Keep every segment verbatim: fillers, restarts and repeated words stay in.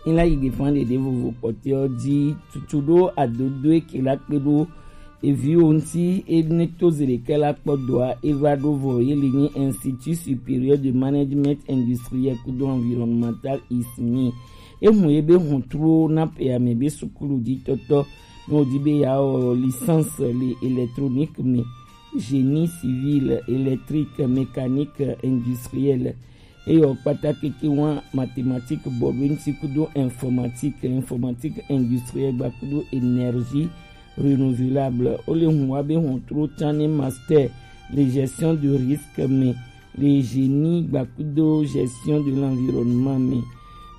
Ela yi gbe fan ɖeɖe vovo kpɔtɔewo ji tutu ɖo adodoe ke la kpe ɖo eviwo ŋuti ene to ze ɖeka la kpɔ doa eva ɖo vɔ ye li nyi Institut Supérieur de Management Industriel kudo Environnemental, ismi. Ehun ye be hɔntruwo na pe ame be sukulu ji tɔtɔ ne wodi be ya wɔ licence le électronique me, génie civil, électrique, mécanique industrielle. Eye wòkpata keke wa mathématique bɔ ɖo eŋuti kudo informatique, informatique industrielle gba kudo énergie renouvelable. Wole hun wa be hɔntru can ne master le gestion de risque me, le génie gba kudo gestion de l'environnement me.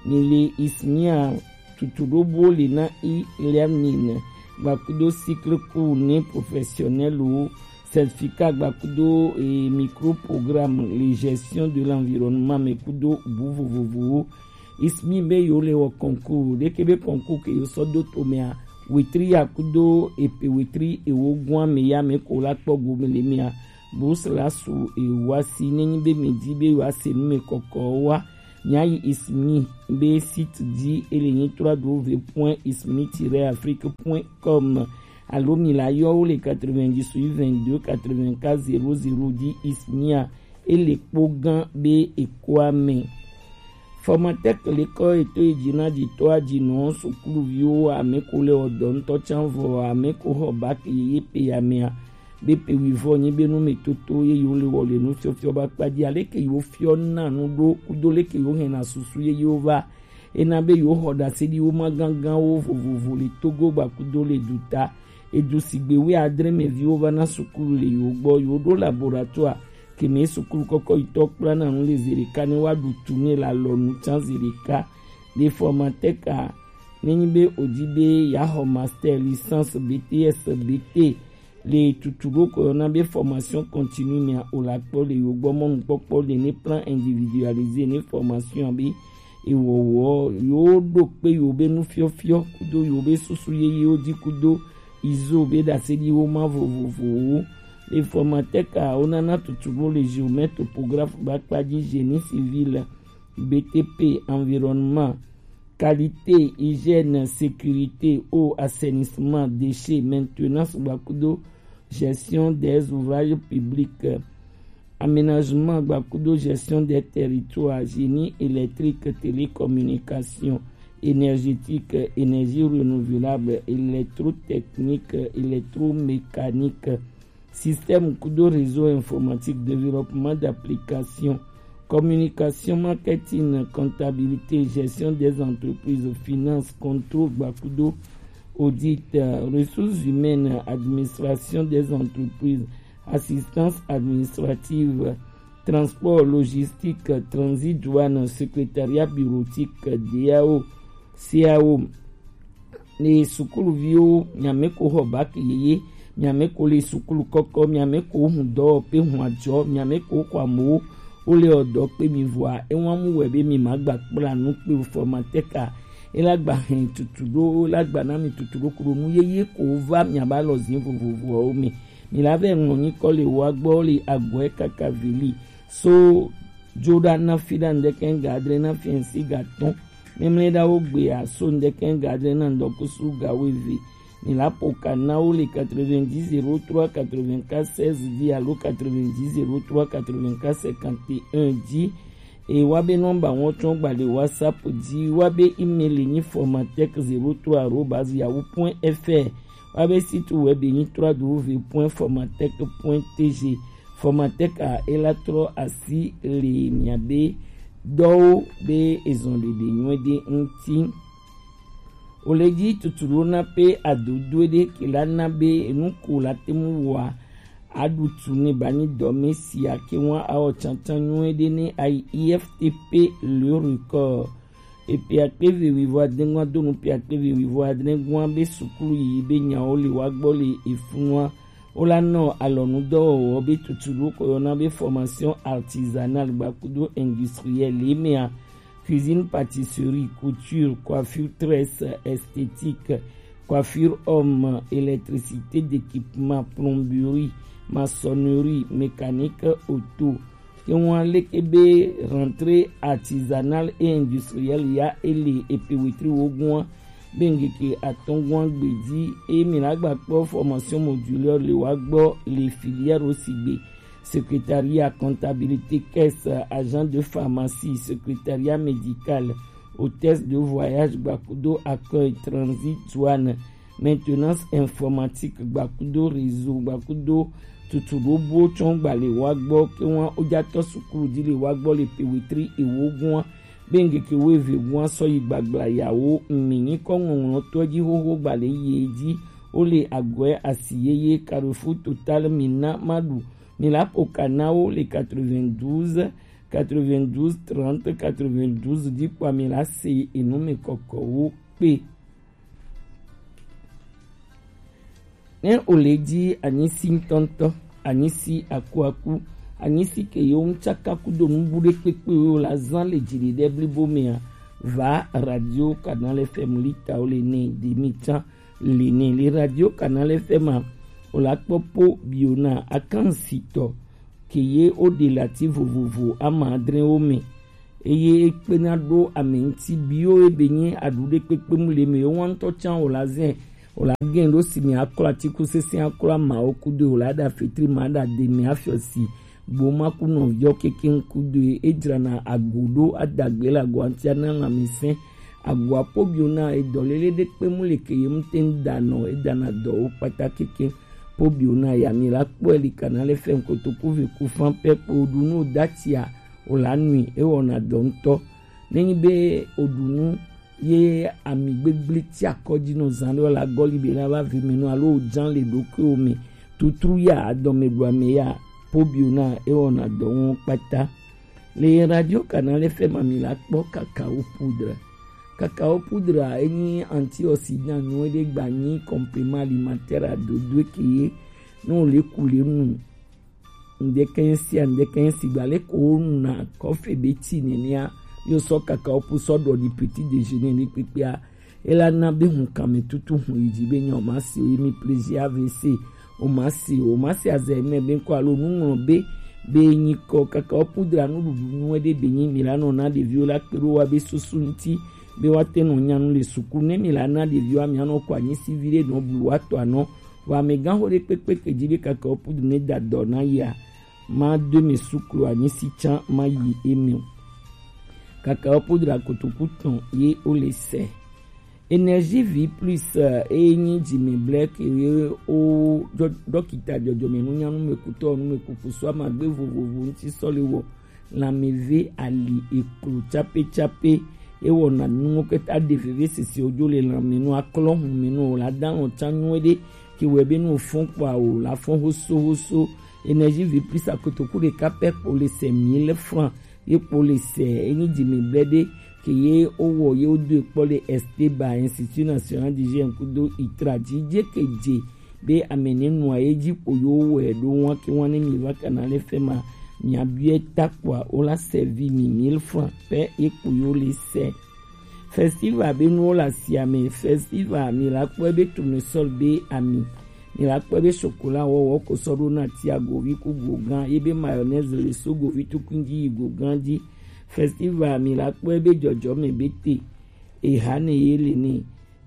Ni le ismia tutu ɖo bo le na i learning gba kudo cycle court ne professionnel wo, certificat gba kudo e micro programme le gestion de l'environnement me kudo bu vovovowo. Ismi be yo le wɔ concours ɖeke be concours ke yo sɔ do to mea, wetri ya kudo epe wetri ewo gua me ya me ko la kpɔ go me le mea, bourse la su ewa si ne nyi be me di be yo ase nu me kɔkɔ wa. Mia yi ismi be site di ele nyi trois w point ismi tiret afrique point com alo mi la yɔ wo le quatre-vingt-dix-huit vingt-deux quatre-vingt-quatre zéro zéro di ismia ele kpo gan be ekoa me. Formatec le kɔ eto yi dzi na dzi to adzi nɔ sukuluviwo ame ko le ɔdɔ ŋutɔ can vɔ ame ko xɔ bac yeye pe ya mea be pe wivɔ nyi be nu me toto ye yo le wɔ le nu fiɔfiɔ ba kpa dzi ale ke yo fiɔ na nu ɖo kudo le ke yo hɛn na susu ye yo va ena be yo xɔ ɖase ɖi wo ma gangan wo vovovo le Togo gba kudo le duta. Edu sigbe wi adre me viwo va na sukulu le yo gbɔ yo ɖo laboratoire keme sukulu kɔkɔ yitɔ kpla na nu le zereka ne wa ɖu tu ne la lɔ nu can zereka. Le formatec a ne nyi be odi be ya xɔ master, licence, B T S, B T le tutu ɖo ko yɔna be formation continue mea o la kpɔ le yo gbɔ mɔnukpɔkpɔ le ne plan individualisé ne formation be ewɔwɔ yo ɖo kpe yo be nufiɔfiɔ kudo yo be susu yeyewo di kudo izo be ɖase ɖi wo ma vovovowo. Le formatec a wo nana tutu ɖo le géomètre topographe ba kpa dzi génie civil, B T P, environnement, qualité, hygiène, sécurité, eau, assainissement, déchets, maintenance gba kudo gestion des ouvrages publics, aménagement gba kudo gestion des territoires, génie électrique, télécommunication, énergétique, énergie renouvelable, électrotechnique, électromécanique, système kudo réseau informatique, développement d'application, communication, marketing, comptabilité, gestion des entreprises, finance, contrôle gba kudo audit, euh, ressources humaines, administration des entreprises, assistance administrative, transport, logistique, transit, douane, secrétariat bureautique, D A O, C A O. Ne sukuluviwo, miame ko xɔ bac yeye, miame ko le sukulu kɔkɔ, miame ko hun dɔwɔƒe hun ajɔ, miame ko xɔ amewo, wole ɔdɔ kpe mi vɔa, ewa mu wɛ be mi ma gba kpla nu kpe formatec a, ela gba hɛn tutu ɖo, ela gba na mi tutu ɖo kuɖo nu yeye ko va miaba lɔ zin vovovoawo me. Mi la vɛ ŋlɔ nyikɔ le wa gbɔ le agbɔɛ kaka veli so jo ɖa na fi ɖa ŋdɛkɛ ga adre na fi ɛnsi ga tɔn. Mɛmlɛ ɖa wo gbe a so ŋdɛkɛ ga adre na ŋdɔkusu ga weve. Mi la po ka na wo le quatre-vingt-dix zéro trois quatre-vingt-quatre seize di alo quatre-vingt-dix zéro trois quatre-vingt-quatre cinquante et un di. E wa be nɔmba wɔn tsɔn gba le WhatsApp di, wa be email nyi formatec zéro trois arobase yahoo point F R, wa be site web nyi trois w point formatec point T G. Formatec a ela trɔ asi le mia be dɔwo be ezɔn ɖeɖe nyuie ɖe ŋuti. O le dzi tutu ɖo na pe adodoe ɖe ke la na be enu ko la te mu wɔa aɖu tu ne ba nyi dɔme sia ke ŋua awɔ tsantsan nyuie ɖe ne ayi I F T P le record. Epe akpe eve wivo adre ŋua do nu pe akpe eve wivo adre ŋua be sukulu yiyi be nyawo le wa gbɔ le efunua. Wo la nɔ alɔnudɔwɔwɔ be tutu ɖo ko yɔna be formation artisanale gba kudo industrielle le mea, cuisine, pâtisserie, couture, coiffure, tresse, esthétique, coiffure homme, électricité d'équipement, plomberie, maçonnerie, mécanique auto, ke wan leke be rentrée artisanale et industrielle ya ele epe wetri wogun wa be ngeke atɔngun gbedi e mi la gba kpɔ formation modulaire le wa gbɔ le filière aussi gbe secrétariat, comptabilité, caisse, agent de pharmacie, secrétariat médical, hôtesse de voyage, gbakudo accueil, transit, douane, maintenance informatique, gbakudo réseau, gbakudo tutu ɖobo tsɔn gbale wa gbɔ ke wan ojatɔ sukulu di le wa gbɔ le pe wetri ewo gua be ngeke wo eve gua sɔ yi gbagbla yawo mi nyikɔ ŋɔŋlɔtɔ ji xoxo gbale yi ji wo le agɔɛ asi yeye Carrefour Total mi na ma ɖu mi la ƒo ka na wo le quatre-vingt-douze, quatre-vingt-douze trente, quatre-vingt-douze di kpɔ mi la se enu mi kɔkɔ wo kpe. Ne o le di anyisi ŋutɔŋutɔ, anyisi akuaku, anyisi ke yewo ŋtsaka kudo nubu ɖe kpekpe wo la zan le dzi ɖe blibo mea, va Radio Canal F M lita wo le ne demi tsan le ne le Radio Canal F M a, o la kpɔ po biona akansitɔ ke ye wo ɖe le ati vovovo ama adre wo me. Eye ekpena ɖo ame ŋuti biwo ebe nye aɖu ɖe kpekpe mu le me yewo ŋutɔ tsan o la zɛ o la gɛn ɖo si me aklɔ atiku sese aklɔ amawo kudo o la ɖa fetri ma ɖa de me afiɔ si gboma ku nɔviɔ keke ŋkudo edzrana ago ɖo adagbe le agoa ŋuti ana lãmesẽ agoa po biona edɔ lele ɖe kpe mu le ke ye ŋute ŋu da nɔ edana dɔwo kpata keke po biona ya mi la kpɔe li kana le fɛn kotoku ve ku fan pɛ kpo ɖu nu datia o la nui ewɔna dɔ ŋutɔ. Nenyi be o ɖu nu ye ami gbegble ti akɔ dzi nɔ zan ɖe o la gɔli be na va vi mi nɔ alo o jan le ɖokuiwo me tutru ya adɔme ɖu ame ya po biona ewɔna dɔ ŋu kpata. Le Radio Canal F M a mi la kpɔ cacao poudre. Cacao poudre a enyi antioxydant nyuie ɖe gba nyi complément alimentaire a dodo ke ye ne o le ku le nu ŋdɛkɛn sia ŋdɛkɛn sigba le ko wo nu na kɔfe be ti nenea yo sɔ cacao poudre sɔ ɖɔ di petit déjeuner ne kpekpea Ela na be hun kame tutu hun yi dzi be nya o ma si o yi mi plaisir A V C o ma si o ma si azɛ mɛ be ŋkɔ alo nuŋlɔ be be nyi kɔ kaka o pudra nuɖuɖu nuwe ɖe be nyi mi la nɔ na ɖeviwo la kpe ɖo wa be susu ŋti be wa te nɔ nya nu le suku ne mi la na ɖeviwo amia nɔ kɔ anyi si vi ɖe nɔ blu wa tɔ anɔ wa amegã xo ɖe kpekpe ke dzi be kaka o pudra ne da dɔ na yia ma do mi suklu anyi si tsa ma yi emi o. Kaka o pudra kotoku tɔn ye o le sɛ. Énergie Vie Plus eye nyi dzime blɛ ke ye o dɔkita dzɔdzɔme nunyanu me kutɔ nume kuku sɔ amagbe vovovo ŋuti sɔ le wɔ lãmeve ali eklo tsape tsape ewɔna nuwo keta ɖe veve sese wodzo le lãme nu aklɔ hume nu o la da lɔ tsa nyuie ɖe ke wɛ be nu fɔn kpɔa o la fɔn hoso hoso. Énergie Vie Plus akotoku ɖeka pɛ kpo le sɛ mille francs ye kpo le sɛ enyi dzime blɛ ɖe ke ye o wɔ ye o do ekpɔ le Esteba Institut National d'Hygiène kudo itra dzi dze ke dze be ame ne nua ye dzi kpo yo wɛ ɖo wan ke wan ne mi va kana le fɛ ma mia biɛ ta kpɔa o la sɛvi mi mille francs pɛ ye kpo yo le sɛ. Festival be nuwo le asia me. Festival mi la kpɔe be tournesol be ami mi la kpɔe be chocolat wɔwɔ ko sɔ ɖo na ti agovi ku gogã ye be mayonnaise le so govi tukun dzi yi gogã dzi. Festival mi la kpɔe be dzɔdzɔme be te eha ne ye le ne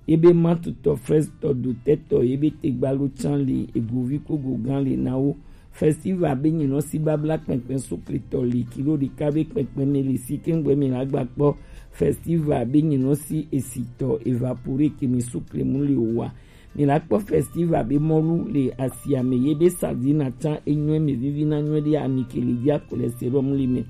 ye be matutɔ frestɔ dotɛtɔ ye be te gbalo tsan le egovi ku gogã le na wo. Festival be nyinɔ si babla kpɛnkpɛn sukletɔ li kilo ɖeka be kpɛnkpɛn me li si keŋgbɛ mi la gba kpɔ. Festival be nyinɔ si esitɔ evapore ke mi suklemu li wa. Mi la kpɔ festival be mɔlu le asia me ye be sardine atsan enyɔɛ me vivi na nyɔɛ ɖe ami ke li dzi akplɛsɛ ɖɔ mu li me.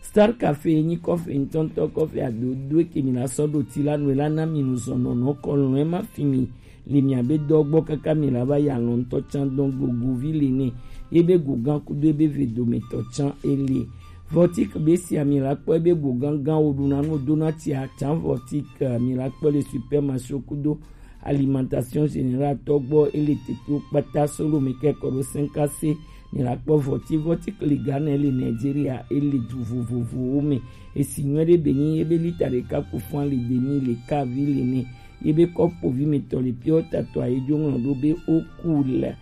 Star Cafe enyi kɔfe ŋutɔŋutɔ kɔfe adodo ke mi la sɔ ɖo ti la nu la na mi nu zɔnɔnɔ kɔlɔn ema fi mi le miabe dɔ gbɔ kaka mi la va yi alɔntɔ tsan dɔn gogovi le ne ye be gogã kudo ebe ve dometɔ tsan ele. Vɔtik be sia mi la kpɔ ebe gogã gã wo ɖuna nu dona tsia tsan vɔtik mi la kpɔ le supermarché kudo alimentation générale tɔ gbɔ ele tete kpata solo mi kɛ kɔ ɖo sɛnkase mi la kpɔ vɔti vɔti kli Ghana ele Nigeria ele du vovovowo me esi nyuie ɖe be nyi ebe lita ɖeka ku fún ali demi le kavi le ne ye be kɔpovi mi tɔ le pure water tɔ ayi dzo ŋlɔ ɖo be o cool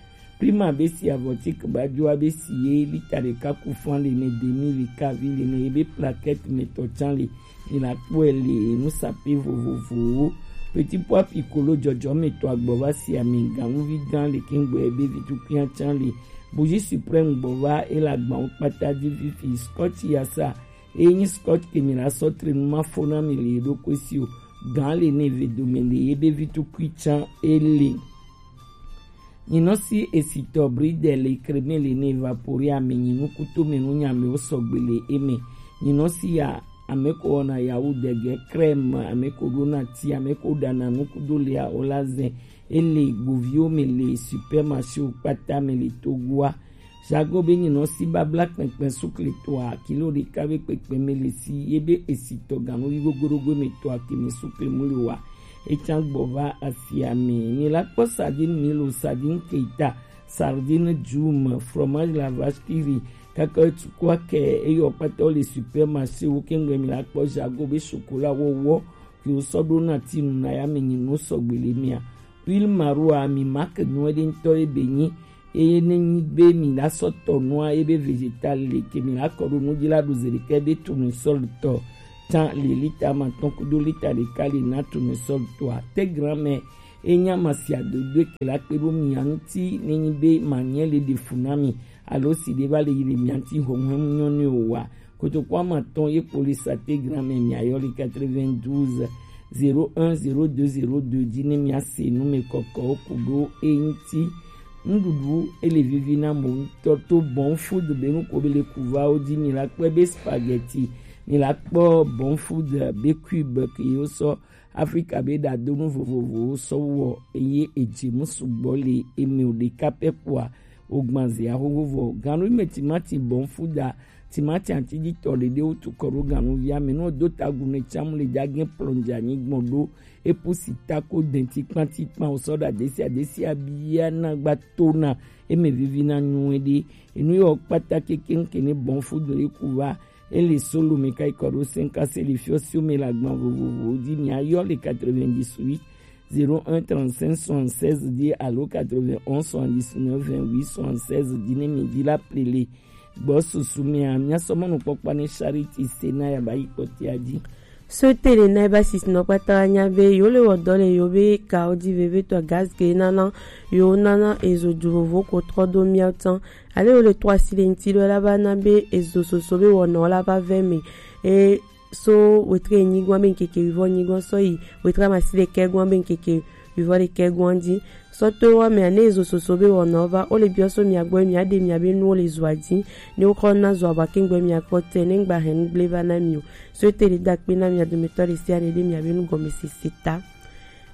Prima be si avɔti kbajoa be si ye lita ɖeka ku fan le ne demi le kavi le ne ye be plaquette me tɔ can le. Mi la kpɔe le nu sape vovovowo. Petit pois piccolo jɔjɔ me tɔ agbɔ va si ami ganuvi gan le kengbe be vi tukui can le. Bougie suprême gbɔ va e la gbawo kpata di fifi scotch yasa. Enyi scotch ke mi la sɔ tre nu ma fo na mi le ɖokui si o. Gan le ne ve dome le ye be vi tukui can e le. Nyinɔ si esitɔ bridel kreme le ne evapore ame nyinu kuto me nu nyame wo sɔgbe le eme. Nyinɔ si ya ame ko wɔna yawu dege crème, ame ko ɖona ti, ame ko ɖana nu kudo lea o la zɛ. Ele gboviwo me le supermarché wo kpata me le Togoa. Jago be nyinɔ si babla kpɛnkpɛn sukle toa kilo ɖeka be kpɛkpɛ me le si ye be esitɔ ganuvi gogoɖogo me toa ke me sukle mu le wa. Etsa gbɔ va asia me. Mi la kpɔ sardine milo, sardine keita, sardine djum, fromage la vache qui rit, kaka tukua ke eyɔ kpata le supermarché wo kengbe mi la kpɔ jago be chocolat wɔwɔ ke wo sɔ ɖo na ti nu na ya me nyinu sɔgbe le mia. Huile maroa mi ma ke nyuɛ ɖe ŋutɔ ye be nyi. Eye ne nyi be mi la sɔ tɔ nua ye be végétal le ke mi la kɔ ɖo nu dzi la ɖo zeɖekɛ be tournesol tɔ tã le lita ma tɔn kudo lita ɖeka le na tournesol tɔa. Te gran mɛ enya ma sia dodo ke la kpe ɖo mia ŋuti ne nyi be ma nyɛ le ɖe fu na mi alo si ɖe va le yi le mia ŋuti hɔhɔn nyɔ ne o wa. Kotoku ama tɔn ye kpo le sate gran mɛ mia yɔ le quatre-vingt-douze zéro un zéro deux zéro deux dzi ne mia se nu me kɔkɔ ku ɖo e ŋuti. Nuɖuɖu ele vivi na mo ŋutɔ to bon food be nu ko be le kuvawo dzi mi la kpɔe be spaghetti, mi la kpɔ bon food be cube ke yo sɔ Afrika be ɖadonu vovovowo sɔ wɔ eye edze mu sugbɔ le eme o ɖeka pɛ kpoa wogban zia xoxo vɔ. Ganu me timati bon food a timati atiditɔ ɖeɖe wotu kɔ ɖo ganuvia me nɔ do tagu ne tsamu le dza gen plɔndza nyigbɔn ɖo epu si tako denti kpanti kpan o sɔ ɖa desi adesi abia na gba to na eme vivi na nyuie ɖe enu yɔ kpata keke ŋke ne bon food le ku va. Ele solo me kai kɔ ɖo cinq se le fiɔ sio me la gban vovovo di mi ayɔ le quatre-vingt-dix-huit zéro un trente-cinq soixante-seize dix alo quatre-vingt-onze soixante-dix-neuf vingt-huit soixante-seize di ne mi di la plele. Gbɔ susu mea, mia sɔ mɔnukpɔkpɔ ne Charity se na ya ba yi kpɔtia dzi. So tele na ba sisi nɔ kpata wa nya be yo le wɔ dɔ le yo be ka o di veve tɔ gaz ke nana yo nana ezo du vovo ko trɔ do mia tan. Ale yo le trɔ asi le nti do la ba na be ezo soso be wɔ nɔ la ba vɛ me. E so wetre nyigɔn be nkeke wivɔ nyigɔn sɔ yi wetre amasi le kɛ gɔn be nkeke wivɔ le kɛ gɔn di. Sɔ to wa mea ne ezo soso be wɔna va o le biɔ so mia gbɔ mia de mia be nu o le zua di ne o kɔ na zua ba ke gbɔ mia kpɔ te ne gba hɛn gble va na mi o. So te le da kpe na mia do me tɔ le sia ne de mia be nu gɔme sese ta.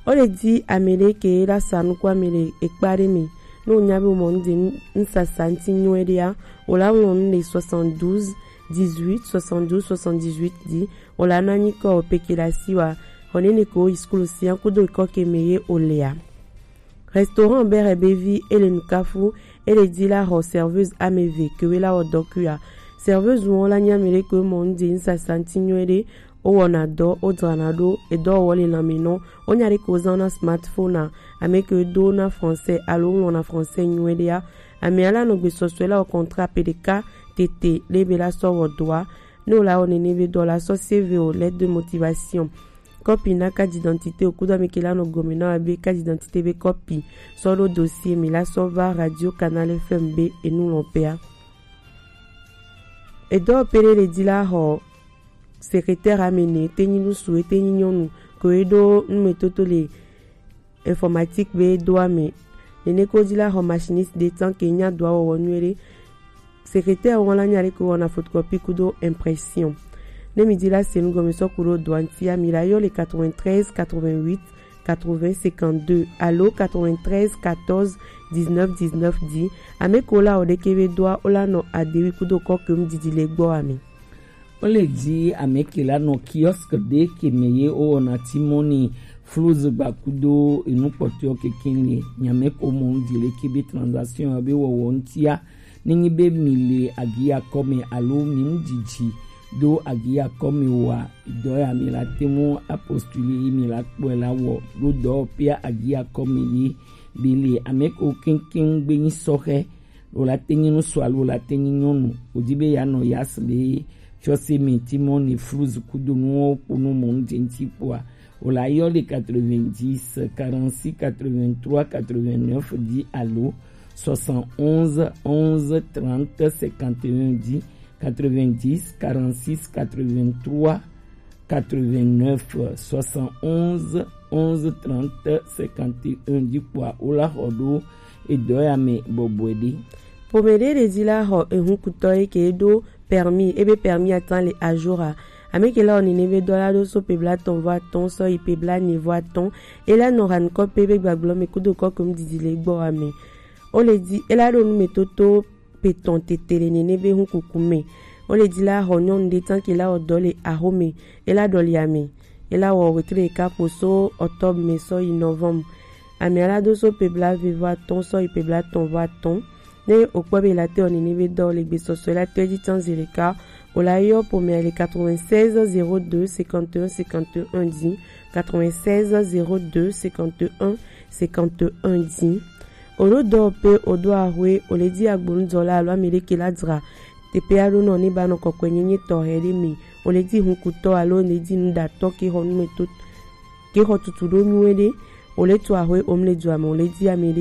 O le di ame le ke la sa nu ko ame le ekpa de mi. No nya be mo nde n sasa nti nyuɛ de ya. O la won le soixante-douze dix-huit soixante-douze soixante-dix-huit di. O la na nyi ko o peke la si wa. O ne ne ko iskulu si an kudo ko ke me ye o le ya. Restaurant Bere Bevi e le nukafu e le di la ho serveuse ameve ke we la o dɔ kui a. Serveuse won la nya me le ko mo nde n sasa nti nyuɛ de o wɔna dɔ o drana do e dɔ wɔ le lame nɔ o nya de ko zan na smartphone a ame ke do na français alo wɔna français nyuɛ de ya. Ame ala nɔ gbe sɔsɔe la o contrat pe de ka tete le be la sɔ wɔ doa. Ne o la wɔ nene be dɔ la sɔ C V o lettre de motivation. Kɔpi na carte d'identité o kudo ame ke la nɔ gɔme na wa be carte d'identité be kɔpi sɔ ɖo dossier mi la sɔ va Radio Canal F M be enu lɔ pea. Edɔ pele le di la xɔ secrétaire amene te nyi nusu ete nyi nyɔnu ko e ɖo numetoto le informatique be do ame. Nene ko di la xɔ machiniste de tan ke nya do awɔwɔ nyuie ɖe. Secrétaire wɔn la nya ɖe ko wɔna photocopie kudo impression. Ne mi di la se nu gɔme sɔ ku ɖo doa ŋuti a mi la yɔ le quatre-vingt-treize quatre-vingt-huit quatre-vingts cinquante-deux alo quatre-vingt-treize quatorze dix-neuf dix-neuf di. Ame ko la o ɖe ke be doa o la nɔ adewi kudo kɔ ke mu didi le gbɔ ame. O le di ame ke la nɔ kiosque ɖe ke me ye o wɔna timoni fluz gba kudo enu kpɔtɔe keke le nyame ko mɔ ŋdi le ke be transaction be wɔwɔ ŋutia. Ne nyi be mi le agiya kɔ me alo mi ŋu didi do agiya kɔ me wa dɔ ya mi la te mu apostuli mi la kpɔe la wɔ ɖo dɔ pia agiya kɔ me ye. Bili ameko keŋkeŋ gbe nyi sɔxe, lo la te nyi ŋutsu alo la te nyi nyɔnu. Wò di be yeanɔ Yas be fiɔse me, Timon ne Fluz kudo nuwo kpo nu mɔ nu dze ŋuti kpoa, wò la yɔ le quatre-vingt-dix, quarante-six, quatre-vingt-trois, quatre-vingt-neuf dzi alo soixante-onze, onze, trente, cinquante et un dzi, quatre-vingt-dix, quarante-six, quatre-vingt-trois, quatre-vingt-neuf, soixante-onze, onze, trente, cinquante et un dzi kpoa, wo la xɔ ɖo edɔ ya me bɔbɔe ɖe. Ƒome ɖe ɖe dzi la xɔ ehunkutɔ yi ke ɖo permis, ebe permis atan le à jour a. Ame ke la wɔ nene be dɔ la ɖo so pe blatɔn vɔ atɔn sɔ yi pe blanɛ vɔ atɔn. E la nɔ han kɔ pe be gbagblɔ me kudo kɔ kom didi le gbɔ wa me. O le di e la ɖo nu me toto pe tɔn tete le nene be hun kuku me. O le di la xɔ nyɔnu ɖe tan ke la wɔ dɔ le axo me. E la ɖɔ le ame. E la wɔ wetre ɖeka kpo so octobre me sɔ yi novembre. Ame ala do so pe bla ve vɔ atɔn sɔ yi pe blatɔn vɔ atɔn. Ne o kpɔ be la te wɔ nene be dɔ le gbesɔsɔ la te dzi tan zi ɖeka, o la yɔ ƒomea le quatre-vingt-seize zéro deux cinquante et un cinquante et un dix, quatre-vingt-seize zéro deux cinquante et un cinquante et un dix. O ɖo dɔ pe o do axwe, o le di agbonudɔla alo ame ɖe ke la dzra teƒe aɖo nɔ ne ba nɔ kɔkɔe nyenye tɔxɛ ɖe me. O le di hunkutɔ alo o le di nuɖatɔ ke xɔ numeto ke xɔ tutu ɖo nyuie ɖe. O le tu axwe o mle dua me, o le di ame